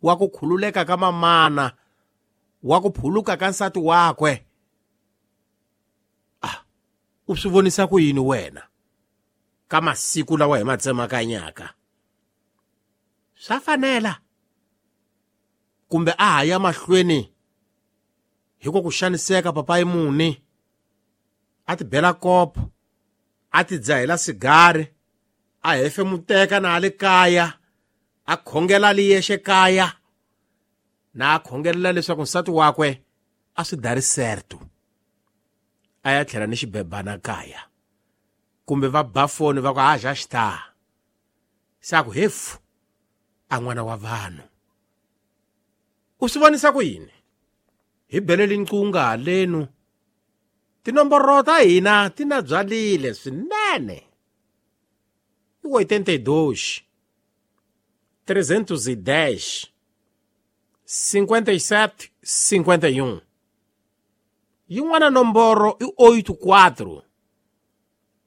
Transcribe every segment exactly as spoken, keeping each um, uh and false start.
wa ku khululeka ka mamana wa ku phuluka ka nsati wakwe ah u swi vonisa ku yini wena ka masiku lawa hi ma tsemakanyaka swa fanela kumbe a ha ya mahlweni hi ku ku xaniseka papayi muni a ti bela kopo a ti dzahela sigari a hefemuteka na le kaya a khongela li yexe kaya na a khongelela leswaku nsati wakwe a swi dari certo a ya tlhela ni xibebana kaya kumbe va ba foni va ku a já está se a ku hefu a n'wana wa vanhu u swi vonisa ku yini hi beleli nqunga halenu tinomboro ta hina ti na byalile swinene i oitenta e dois trezentos e dez cinquenta e sete cinquenta e um yin'wana nomboro i oito quatro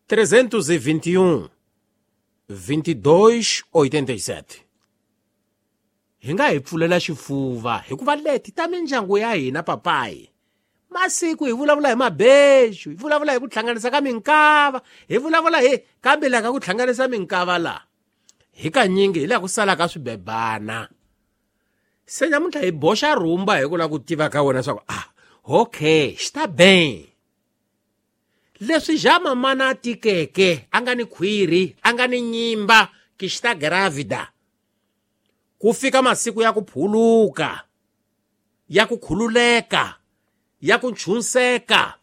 trezentos e vinte e um vinte e dois oitenta e sete hi nga hi pfulela xifuva hikuva leti ta mindyangu ya hina papayi masiku hi vulavula hi mabexu hi vulavula hi ku hlanganisa ka minkava hi vulavula hi kambe laha ka ku hlanganisa minkava la hi kanyingi hi laha ku salaka swibebana se namuntlha hi boxa rhumba hi ku lava ku tiva ka wena swa ku ah okay está bem leswi ja mamana a tikeke a nga ni khwiri a nga ni nyimba que está grávida ku fika masiku ya ku phuluka ya ku khululeka ya ku nchunseka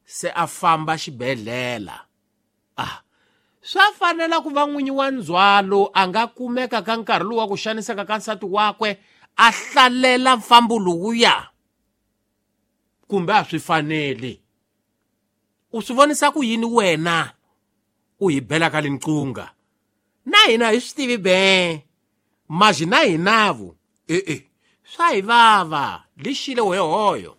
se a famba xibedhlele ah swa fanela ku va n'winyi wa ndzhwalo a nga kumeka ka nkarhi lowu wa ku xaniseka ka nsati wakwe a hlalela mfambo lowuya kumbe a swi faneli u swi vonisa ku yini wena u hi bela ka linqunga na hina hi swi tivi be maji na hinavu e-e swa hi vava lixile wehoyo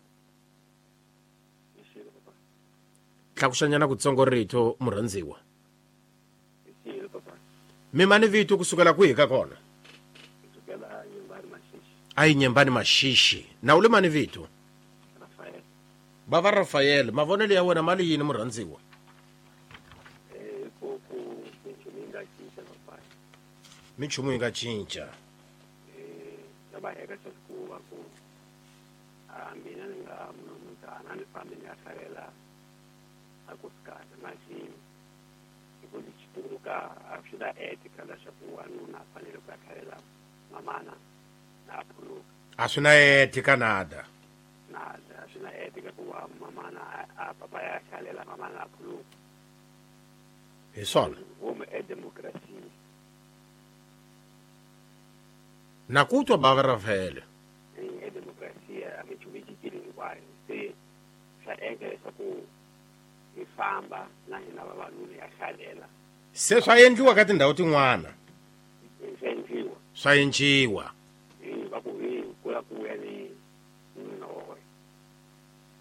tlakuxanyana kutsongo rito murhandziwa mimani vito kusukela kwihi ka kona a yi Nyembani Maxixi na u le mani vito bava Rafael mavonelo ya wena mali yini murhandziwa minchumu yi nga cinca mina ni nga munhu ni fambi ni ya hlalela a ku sikata masi hi ku xituka a swi na ethica leswaku wanuna a fanele ku ya hlalela mamana na a phuluka a swi na ethica nada nada a swi na ethica ku va mamana a papa ya hlalela mamana a phuluka hi swona huma edemokirasini na ku twa bava Rafael edemokirasia a minchumu yi cincile hinkwayo se swa endla leswaku hi famba na hina vavanuna ya hlalela se swa endliwa ka tindhawu tin'wana swa endliwa swa endliwa va ku hi kula ku vuya ni nuna wa wena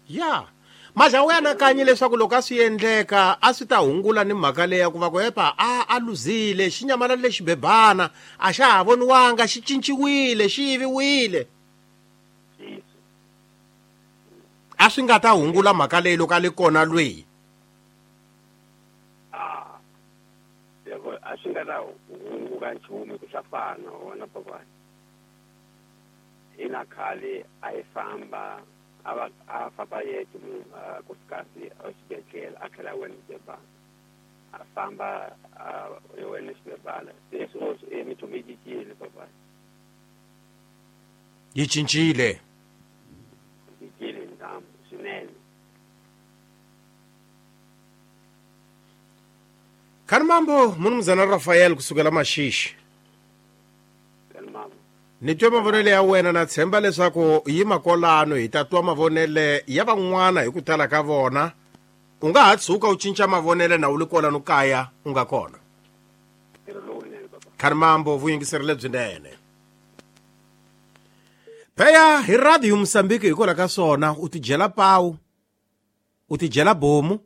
ya maja u anakanyi leswaku loko a swi endleka a swi ta hungula ni mhaka leyi ya ku va ku epa a a luzile xi nyamalale xibebana a xa ha voniwanga xi cinciwile xi yiviwile a swi nga ta hungula mhaka leyi loko a le kona lweyi a loko a swi nga ta hunguka nchumu ku swa fana wona papani ina khale a yi famba a va a famba yexe munhu nkosikazi exibedhlele a tlhela a wena xibebana a famba a wena xibebana se sweswi e minchumu yi cincile papani yi cincile cincile ntamu swinene Kharimambo munumuzana Rafael kusukela Maxixi ni twe mavonele ya wena na tshemba leswaku yi makolano hi ta twa mavonele ya van'wana hi ku tala ka vona u nga ha tshuka u cinca mavonele na u li kolano kaya u nga kona Kharimambo vuyingiseri lebyinene pheya hi radio Mozambique hikwalaho ka swona u tidyela pawu u tidyela bomu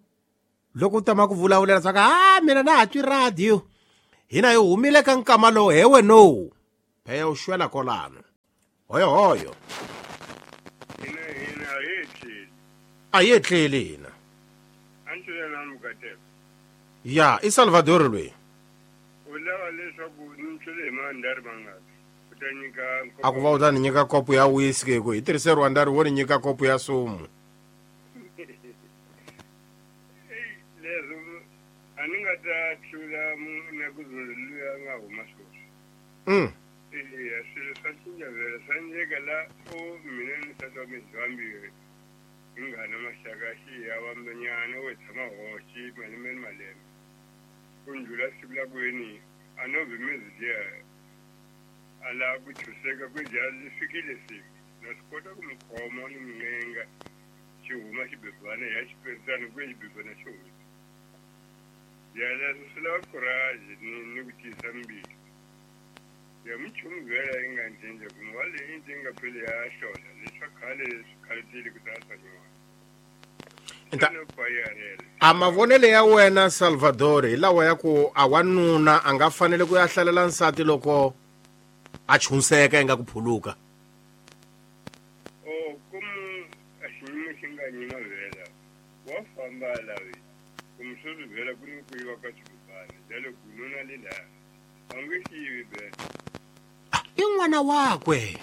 loko u tama ku vulavulela swa ku a mina na ha twi radio hina hi humile ka nkama lowu hewe no pheya u xwela kolano Hoyo hoyo. Hina hina a hi etleli. A hi etleli hina. A ni twela na mukateko. Ya, i Salvador loyi. U lava leswaku ni twele hi mandari mangaki. U ta nyika A ku va u ta ni nyika kopo ya whisky hi ku hi tirhise Rwanda ri wo ni nyika kopo ya sumu. Leswo a ni nga ta tlula na ku luya nga huma sweswi. Mm. Eya, swilo swa cinca vhela swa endleka la o mina ni nsati wa mina vambirhi hi nga na maxaka xi ya vambenyana wo tshama hoxi malembe ni malembe ku ndlula siku la kweni a no vhimezi liya a lava ku chuseka ku dya li fikile siku na swi kota ku mi khoma ni mi ncenga xi huma xibebana ya xiperisana ku xibebana xi huma ya leswo swi lava courage ni ni ku tiyisa mbilu. Ya minchumu vhela yi nga cinca ku wa leyi yi nga pheli ya hlola leswa khale swi khaletile ku ta swa nyuwana. A mavonelo ya wena Salvador hi lawa ya ku a wanuna a nga fanele ku ya hlalela nsati loko a chunseka yi nga ku phuluka. O komu a xiyimo xi nga nyima vhela wa famba lavi kumbe sweswi vhela ku ni ku yiva ka xibebana jalo ku nuna le laha a nge xi yivi vhela. I n'wana wakwe.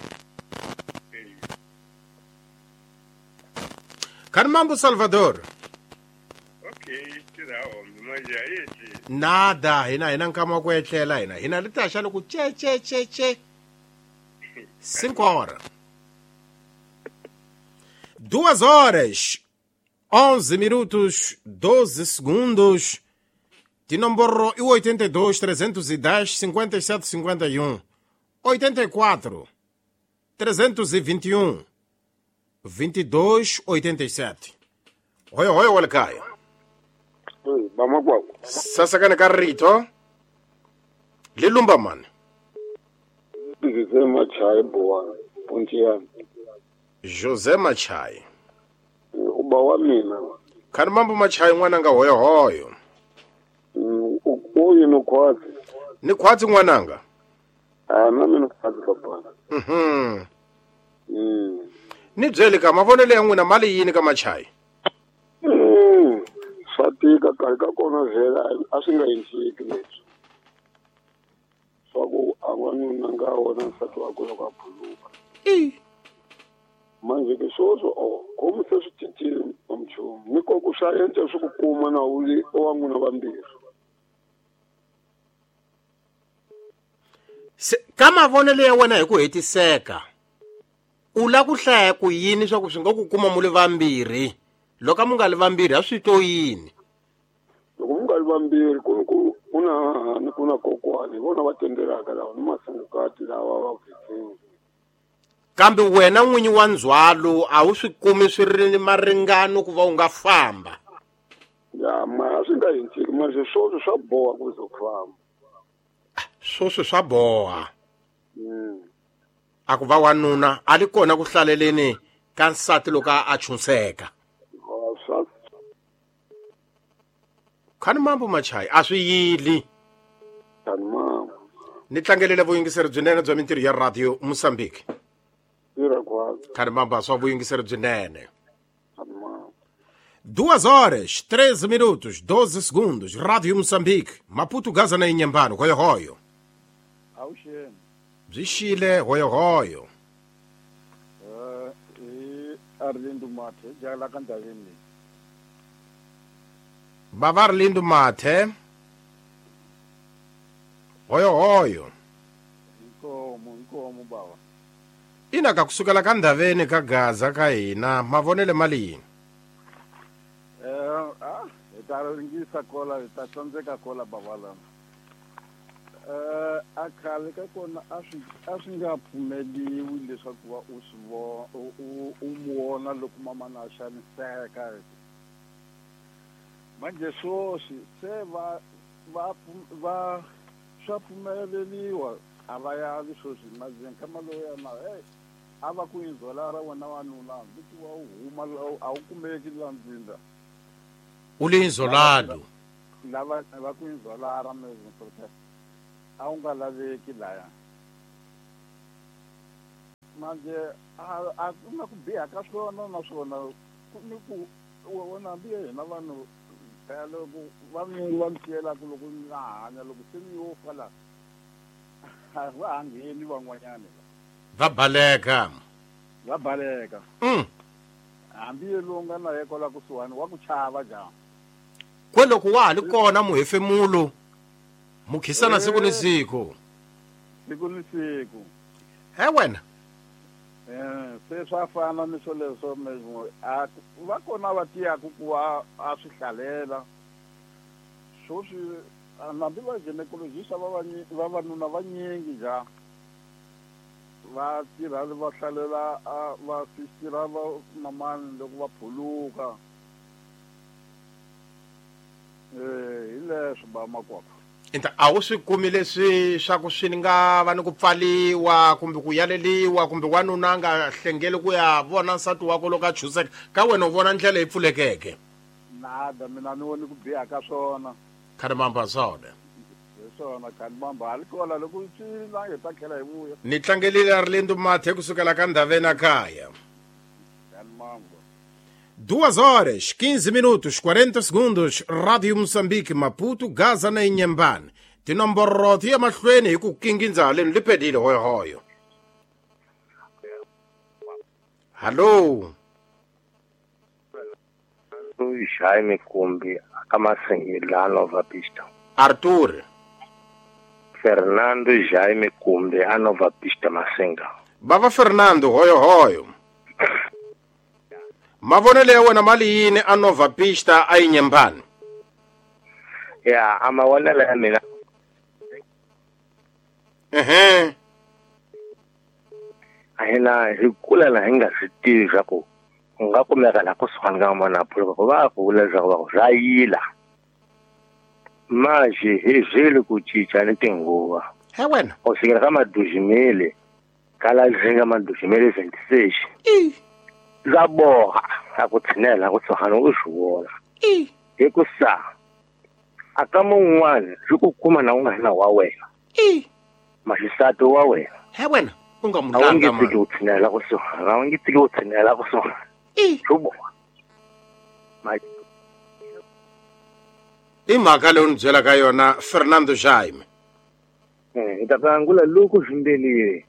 Carmambo Salvador. Okay, tirha hombe manje a hi etleli. Nada, hina hina nkama wa ku etlela hina. Hina ri ta xa loko che che che che. Cinco horas. Duas horas, onze minutos, doze segundos. De número oitenta e dois, trezentos e dez, cinquenta e sete, cinquenta e um. oitenta e quatro, trezentos e vinte e um, vinte e dois, oitenta e sete. Hoyo hoyo walakaya. Oi, bamakwako. Sasa kana karito. Lilumba man. José Machai boa, Pontiano. José Machai. Uba wa mina. Khani mambo Machai n'wananga hoyo hoyo. Uyu no khwatsi. Ni khwatsi n'wananga. Ah, na mina khwatsi papa. Mhm. Mm. Ni byele ka mavonelo ya n'wina mali yini ka Machai? Mm. Swa tika karhi ka kona vhela a swi nga endleki leswi. Swa ku a wanuna nga wona nsati wakwe loko a phuluka. I. Manje ke sweswo o komu se swi cincile nchumu ni ko ku swa endla swi ku kuma na u ri wa n'wina vambirhi. Se ka mavonelo ya wena hi ku hetiseka u la ku hlaya ku yini swa ku swi nga ku kuma mu le vambirhi loko mu nga li vambirhi a swi to yini? Loko mu nga li vambirhi ku ku ku na hahani ku na kokwani hi vona va tendelaka lava ni masungukati lava va vhetsini. Kambe wena n'winyi wa ndzhwalo a wu swi kumi swi ri ni maringano ku va u nga famba. Ya ma swi nga endleki manje swoswi swa boha ku ze ku famba. Swoswi swa boha. Mm. A ku va wanuna a li kona ku hlaleleni ka nsati loko a chunseka. Khani mambo Machai a swi yili. Khani mambo. Ni tlangelele vuyingiseri byinene bya mintirho ya Radio Mozambique. Khani mambo swa vuyingiseri byinene. Duas horas, treze minutos, doze segundos. Rádio Moçambique, Maputo, Gaza na Inhambane, hoyo hoyo. Awuxeni. Byi xile hoyo hoyo. Eh, i Arlindo Mathe, jala ka ndhaveni leyi. Bava Arlindo Mathe. Hoyo hoyo. Inkomo, inkomo baba. Ina ka kusukela ka ndhaveni ka Gaza ka hina, mavonele mali yini? Eh, ah, hi ta ringisa kola, hi ta tsandzeka kola baba lama. Eh, a khale ka kona a swi a swi nga pfumeliwi leswaku va u swi vona u u mu vona loko mamana a xaniseka. Manje sweswi se va va va swa pfumeleriwa a va yavi sweswi manje nkama lowu na hey a va ku inzola ra wena wanuna hambi ku wa u huma a wu kumeki la ndzinda. U le inzolalo. Lava va ku inzola ra mezi protest. A wu nga laveki laya. Manje a a ku na ku biha ka swona naswona ku ni ku wona hambi hina vanhu phela loko va mi va mi siyelaka loko mi nga hanya loko se mi yo fa la a va ha ngheni van'wanyana va baleka va baleka mm. Hambi lowu nga na ye kwala kusuhani wa ku chava jama kwe loko wa ha li kona muhefemulo mukhisana siku ni siku siku ni siku he wena eh se swa fana ni swoleswo a va kona va tiyaku ku va a swi hlalela swoswi hambi va gynecologist va vavanuna vanyingi ja va tirha va hlalela va sistira va mamani loko va phuluka eh hi leswo ba makwapa Inta a wu swi kumi leswi swa ku swi nga va ni ku pfaliwa kumbe ku yaleliwa kumbe wanuna a nga hlengeli ku ya vona nsati wakwe loko a chuseka ka wena u vona ndlela yi pfulekeke nada mina ni voni ku biha ka swona khalimamba swona hi swona khalimamba hali kola loko swi la hi ta tlhela hi vuya ni tlangelile Arlindo Mathe kusukela ka Ndhaveni kaya khalimamba Duas horas, quinze minutos, quarenta segundos, Rádio Moçambique, Maputo, Gaza na Inhambane. Tinomboro ti ya mahlweni hi ku kingindza haleni li pedile hoyohoyo. Hallo. Jaime Kumbi, akamasengela Nova Pista. Arthur. Fernando Jaime Kumbi, a Nova Pista Masenga. Bava Fernando, hoyohoyo. Mavonelo ya wena mali yini a Nova Pista a Inhambane? Ya, a mavonelo ya mina. Ehe. A hina hi kula la hi nga swi tivi swa ku u nga kumeka la kusuhani ka n'wana a phuluka ku va ku vula leswaku va ku swa yila. Manje hi byeli ku cinca ni tinguva. He wena. U fikela ka madujimele ka la zinga madujimele vingt-six. I la boha a ku tshinela kusuhani u swi vona hi ku sa a ka mun'wana swi ku kuma na u nga na wa wena maxisati wa wena he wena u nga a wu mulanga nge mani tiki u tshinela kusuhani a wu nge tiki u tshinela kusuhani swi boha i mhaka leyi u ni byelaka yona Fernando Jaime hi ta angula loko swimbelile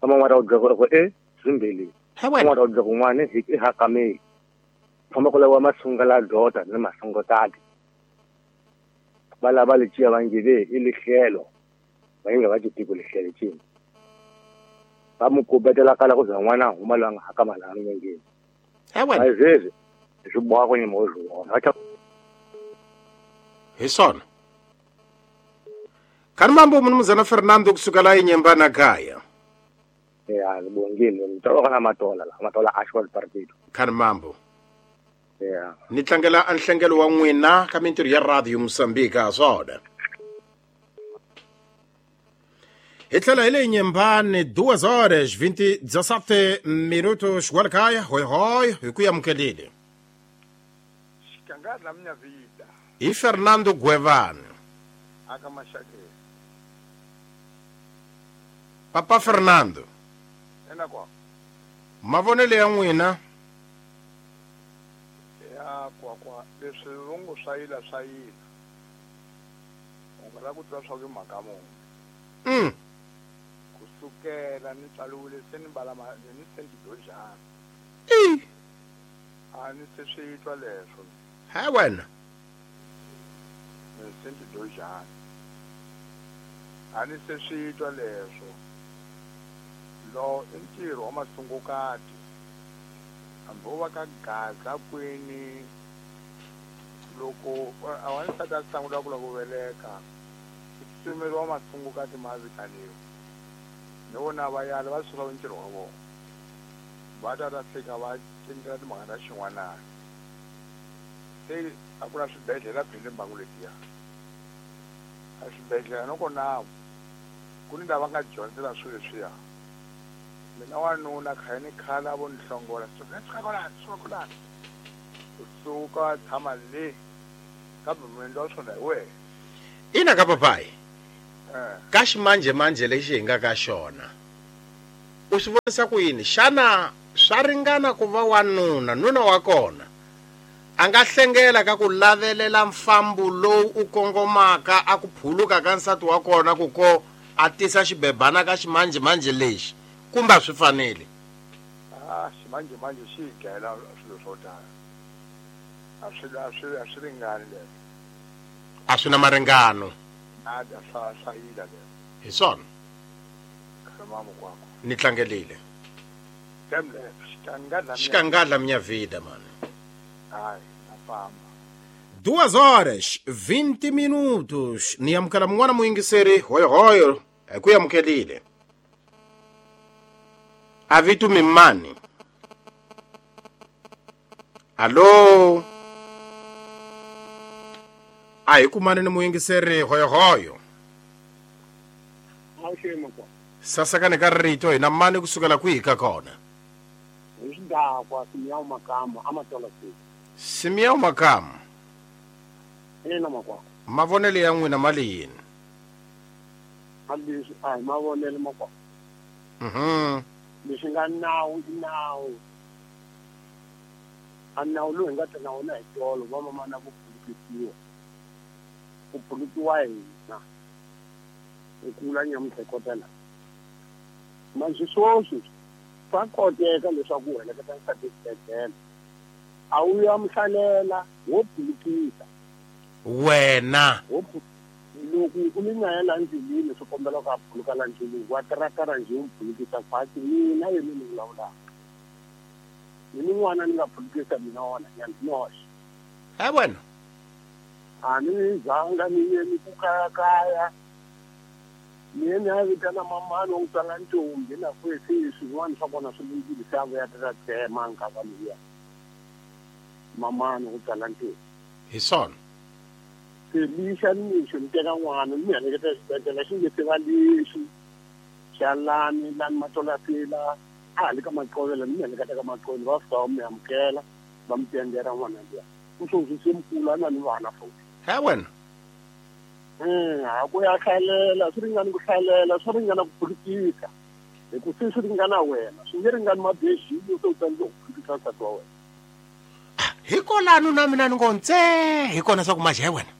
ka man'wana u byela ku e swimbelile he wena n'wana u byela ku n'wana hi i hakameli famba ku laviwa masunga la dota ni masungotati va lava leciya va ngeve i lihlelo va nga va tiko lihlelo cini va mu kubetela kala ku za n'wana a huma loyi a nga hakama laha milengeni he wena sweswi swi boha ku nyima u swi vona hi swona khalimambo munumuzana Fernando kusukela Inhambane kaya ya ngibongile ngitoloka na matola la matola actual partido khalimambo ya ni tlangela a nhlengelo wa n'wina ka mintirho ya Radio Moçambique a swona hi tlhela hi le Inhambane duas horas vinte dezessete minutos kwalakaya hoyohoyo hi ku amukelile Xikangana minha vida hi Fernando Gwevane aka Maxakeni Papa Fernando ena kwa mavonelo ya n'wina ya kwa kwa leswi vongo swa yila swa yila u nga lava ku tiva swa ku i mhaka muni mm. kusukela ni tswariwile se ni mbala ni se ni tidojana i a ni se swi twa leswo he wena ni se ni tidojana a ni se swi twa leswo lo i ntirho wa masungukati hambi wo va ka Gaza kwini loko a wansati a sungula ku lava ku veleka ku tsutsumeriwa masungukati ma vitaniwa ni vona va yala va suka ntirho wa vona va ta ta fika va tindlela timhaka ta xin'wanana se a ku na swibedhlele phele mbangu letiya a swibedhlele no kona ku ni lava nga dyondzela swilo leswiya mina wanuna khale ni khale a vo ni hlongola suka suka kwalano suka kwalano u suka tshama le kambe muendli wa swona hi wena ina ka papayi eh ka ximanjhemanjhe lexi hi nga ka xona U swi vonisa ku yini? Xana swa ringana ku va wanuna nuna wa kona a nga hlengela ka ku lavelela mfambo lowu u kongomaka a ku phuluka ka nsati wa kona ku ko a tisa xibebana ka ximanjhemanjhe lexi kumbe a swi fanele? Ah, ximanjhemanjhe xi hi dlayela swilo swo tala. A swi a swi a swi ringani leswo. A swi na maringano. Nada swa swa yila leswo. Hi swona. Khamamo kwakho. Ni tlangelile. Temle xikangadla xikangadla minha vida mano. Ai, na famba. Duas horas vinte minutos. Ni amukela mun'wana muyingiseri hoyohoyo hi ku amukelile. A vito mimani. Allo. A hi kumani ni muyingiseri hoyohoyo. Sasakane ka rito hina mani kusukela kwihi ka kona? Hi xidakwa Simiyawu Makamu amatola siku. Simiyawu Makamu. Ina makwako. Mavonelo ya n'wina mali yini? Leswi a hi mavonelo makwako. Mhm. Leswi nga nawu i nawu. A nawu lowu hi nga ta na wona hi tolo va mamana ku phulukisiwa. Ku phulukiwa hina. Hi kula nyamuntlha hi kota la. Manje sweswi swa koteka leswaku u heleketa nsati exibedhlele. A wu ya muhlalela wo phulukisa. Wena. Loko u ni na yena ndleleni swi kombela ku a phuluka la ndleleni wa tirakara njhe u phulukisa khwatsi mina yena ni vulavulaka. Mina n'wana ni nga phulukisa mina wona nyana noxe. He wena. A ni zanga ni ye ni ku kayakaya. Mina ni ya vitana mamani wa ku tswala ntombi na kwesi swin'wana swa kona swi lunghile se a vuya ta tsema nkava liya. Mamani wa ku tswala ntombi. Hi swona. Se lixa nimixo ni teka n'wana ni mi heleketa exibedhlele xi nge se va lexi xa lani lani matolasila a ha le ka maqovela ni mi heleketa ka maqovela va fika va mi amukela va mi tendera n'wana liya. U sweswi se mukulu a na ni vana futhi. He wena. Mm, a ku ya hlalela swi ringana ku hlalela swi ringana ku phulukisa hi ku se swi ringana wena swi nge ringani mabexini se u tsandzeka ku phulukisa nsati wa wena. Hikolano na mina ni ngo ntse hi kona swa ku maje wena.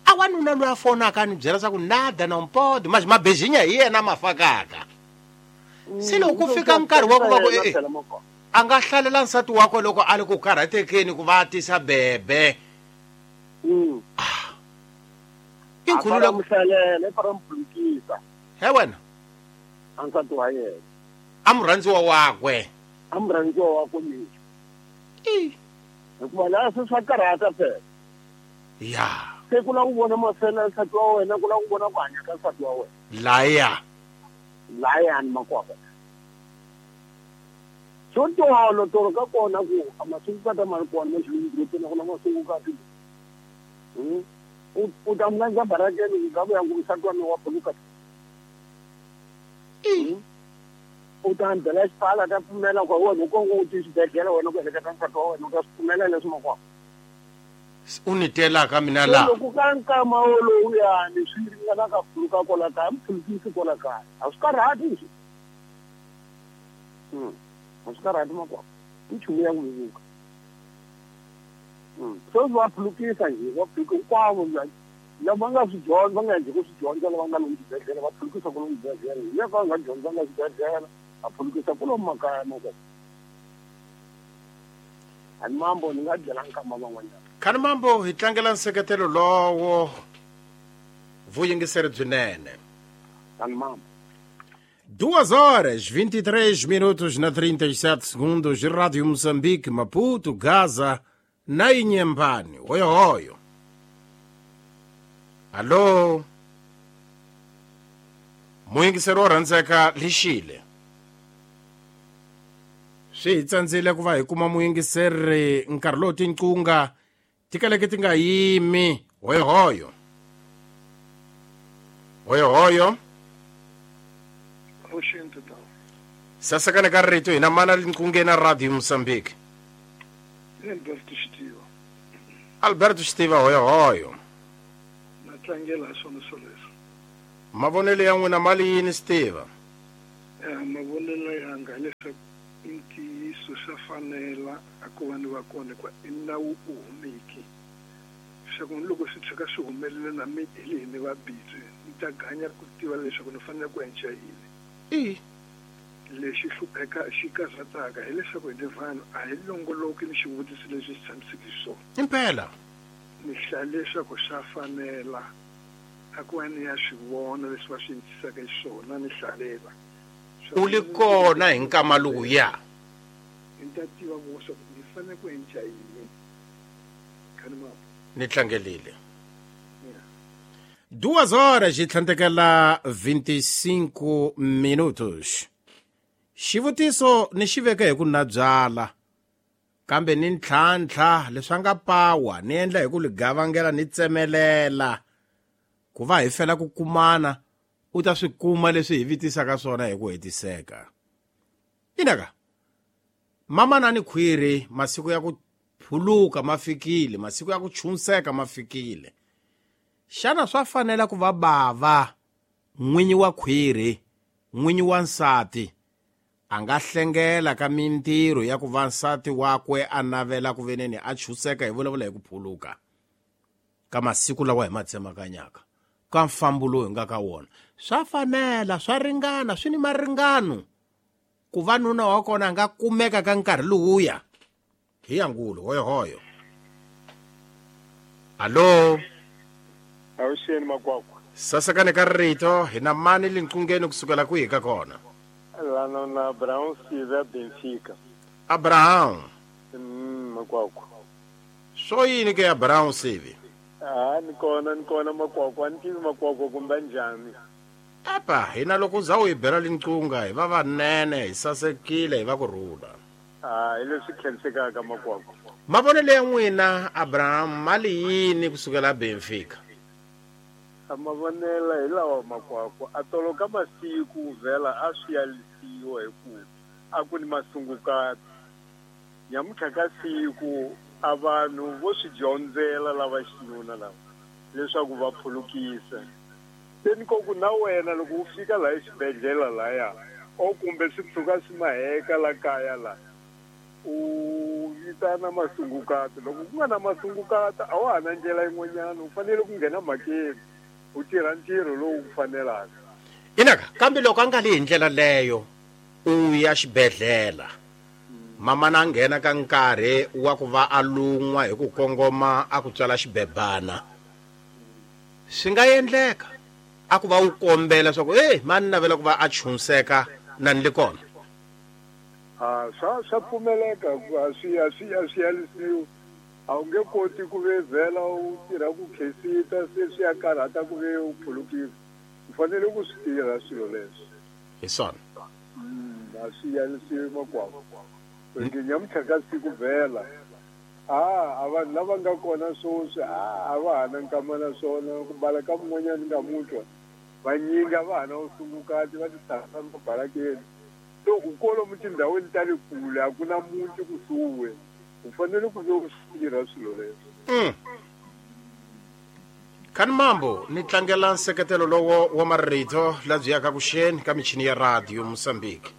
A wanuna loyi a fonaka ni byela swa ku nada na mpodi maje mabejinya hi yena ma fakaka. Se loko ku fika nkarhi wa ku va ku eh a nga hlalela nsati wakwe loko a ri ku karhatekeni ku va tisa bebe. Mm. Inkhulula muhlalela i fara muphulukisa. He wena. A nsati wa yena. A murhandziwa wakwe. A murhandziwa wakwe mixo. I. Hikuva laha se swa karhata phela. Ya. Se ku lava ku vona mafela ya nsati wa wena ku lava ku vona ku hanya ka nsati wa wena. Laya. Layani makwapa. Swo tolo tolo ka kona ku a masungukati ma ri kona ma xilungurupeni ku na masungukati. Mm. U ta mlandza barakeni ku nga vuya ku nsati wa mina wa phuluka. U ta byela xipfala ta pfumela ku wena u kongo u ti xibedhlele wena ku heleketa nsati wa wena u ta swi pfumela leswi makwapa. U ni telaka mina la. Loko ka nkama wolowuyani swi ringana ka phuluka kwala kaya mi phulukisi kwala kaya a swi karhati njhe. Mm. A swi karhati makwapa. I nchumu ya ku vevuka. Mm. Sweswi va phulukisa njhe va phuluka hinkwavo lava nga swi dyondza va nga endli ku swi dyondza lava nga lomu xibedhlele va phulukisa kwalomu xibedhlele hi lava va nga dyondzanga xibedhlele va phulukisa kwalomu makaya makwapa. Ani mambo ni nga byela nkama van'wanyana. Khani mambo hi tlangela nseketelo lowo vuyingiseri byinene. Khani mambo. Duas horas, vinte e três minutos na trinta e sete segundos, Rádio Moçambique, Maputo, Gaza, na Inhambane. Oyo, oyo. Alô? Muyingiseri wo rhandzeka lixile. Swi hi tsandzile ku va hi kuma muyingiseri nkarhi lowu tinqunga ti kaleke ti nga yimi. Hoyohoyo. Hoyohoyo. Sasekane ka rito hina mana linqungeni na Radio Moçambique. Alberto Xitiva. Alberto Xitiva hoyohoyo. Na tlangela swona swoleswo. Mavonelo ya n'wina mali yini Xitiva? Mavonelo yanga leswaku i ntiyiso swa fanela a ku va ni va kona hikuva i nawu u humeki. Leswaku ni loko swi tshuka swi humelela na mi hi le ni va busy ni ta ganya ku tiva leswaku ni fanele ku endla yini. I lexi hlupheka xi karhataka hileswaku hi le vanhu a hi longoloki ni xivutiso lexi xi tshamiseke xiswona. Impela ni hlaya leswaku swa fanela a ku va ni ya swi vona leswi va swi endlisaka xiswona ni hlalela. U li kona hi nkama lowuya ni ta tiva ku leswaku ni fanele ku endla yini. Ni tlangelile. Duas horas e tlhandlekela vinte e cinco minutos. Xivutiso ni xi veka hi ku na byala kambe ni ntlhantlha leswi nga pawa ni endla hi ku li gavangela ni tsemelela ku va hi fela ku kumana u ta swi kuma leswi hi vitisaka swona hi ku hetiseka. Inaka mama na ni khwiri masiku ya ku phuluka ma fikile, masiku ya ku chunseka ma fikile. Xana swa fanela ku va bava n'winyi wa khwiri n'winyi wa nsati a nga hlengela ka mintirho ya ku va nsati wakwe a navela ku veneni a chuseka hi vulavula hi ku phuluka ka masiku lawa hi ma tsemakanyaka ka mfambo lowu hi nga ka wona? Swa fanela, swa ringana, swi ni maringano ku va nuna wa kona a nga kumeka ka nkarhi lowuya. Hi yangulo hoyohoyo. Alo, awuxeni makwakwa. Sasekani ka rito hi na mani linqungeni kusukela kwihi ka kona? Lana na Abraham Siva Benfica. Abraham. Mm, makwakwa. Swo yini ke Abraham Sivi? Ah, ni kona ni kona makwakwa, ni tivi makwakwa kumbe njhani. Apa, hina loko za u hi bela linqunga hi va vanene, hi sasekile, hi va ku rhula. Ah, hi leswi khensekaka makwakwa. Mavonelo ya n'wina Abraham mali yini kusukela Benfica? Mavonelo hi lawa makwakwa a tolo ka masiku vhela a swi yalisiwa hi ku a ku ni masungukati. Nyamuntlha ka siku a vanhu vo swi dyondzela lava xinuna lava leswaku va phulukisa. Se ni ko ku na wena loko u fika laha exibedhlele laya o kumbe swi tshuka swi maheka la kaya la u vitana masungukati. Loko ku nga na masungukati a wa ha na ndlela yin'wanyana, u fanele ku nghena mhakeni u tirha ntirho lowu ku fanelaka. Inaka kambe loko a nga li hi ndlela leyo u ya xibedhlele mama na nghena ka nkarhi wa ku va a lun'wa hi ku kongoma a ku tswala xibebana, swi nga endleka a ku va u kombela leswaku e mani navela ku va a chunseka na ni le kona? A swa swa pfumeleka a swi a swi a swi yalisiwi. A wu nge koti ku ve vhela u tirha ku khensita se swi ya karhata ku ve u phulukisa. U fanele ku swi tirha swilo leswi. Hi swona. A swi yalisiwi makwakwa. Nge nyamuntlha ka siku vhela a a vanhu lava nga kona sweswi a va ha na nkama na swona ku bala ka mun'wanyana nga mutwa vanyingi a va ha na vusungukati va ti tshama mabalakeni. So u kolomu tindhawini ta le kule a ku na muti kusuhi, u fanele ku ve u swi tirha swilo leswi. Khani mambo ni tlangela nseketelo lowo wa marito labyi yaka kuxeni ka michini ya radio Mozambique.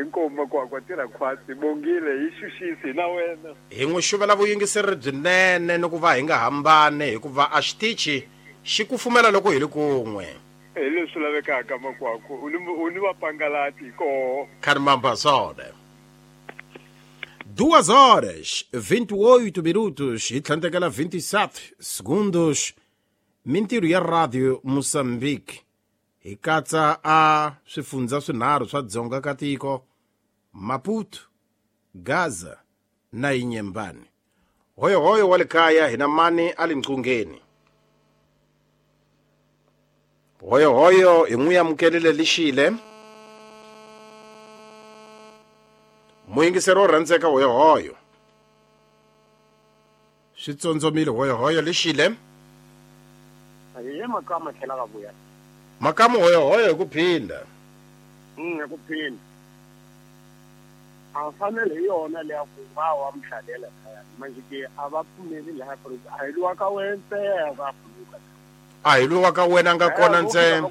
Inkomu makwakwa tirha khwatsi bongile hi xuxisi na wena. Hi n'wi xuvela vuyingiseri byinene ni ku va hi nga hambane hikuva a xitichi xi kufumela loko hi ri kun'we. Hi leswi lavekaka makwakwa, u ni u ni vapangalati koho. Khani mambo swona. Duas horas vinte e oito minutos hi tlhandlekela vinte e sete segundos. Mintirho ya Radio Mozambique hi katsa a swifundza swinharhu swa dzonga ka tiko, Maputo, Gaza na Inhambane. Hoyohoyo wa le kaya hi na mani a le nqungeni. Hoyohoyo hi n'wi amukelile lixile. Muyingiseri wo rhandzeka hoyohoyo. Swi tsondzomile hoyohoyo lixile. Hi makama tlhela ka vuya. Makamu hoyohoyo hi ku phinda. Mm, hi ku phinda. A fanele hi yona leya ku va wa mhlalela khaya. Manje ke a va pfumeli laha a hi luwa ka wena ntsena va phuluka. A hi luwa ka wena nga kona ntsena.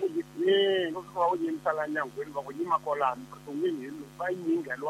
Eh, va fika va ku yimisa la nyangweni va ku yima kwalano vuton'wini hi loyi va yingheliwa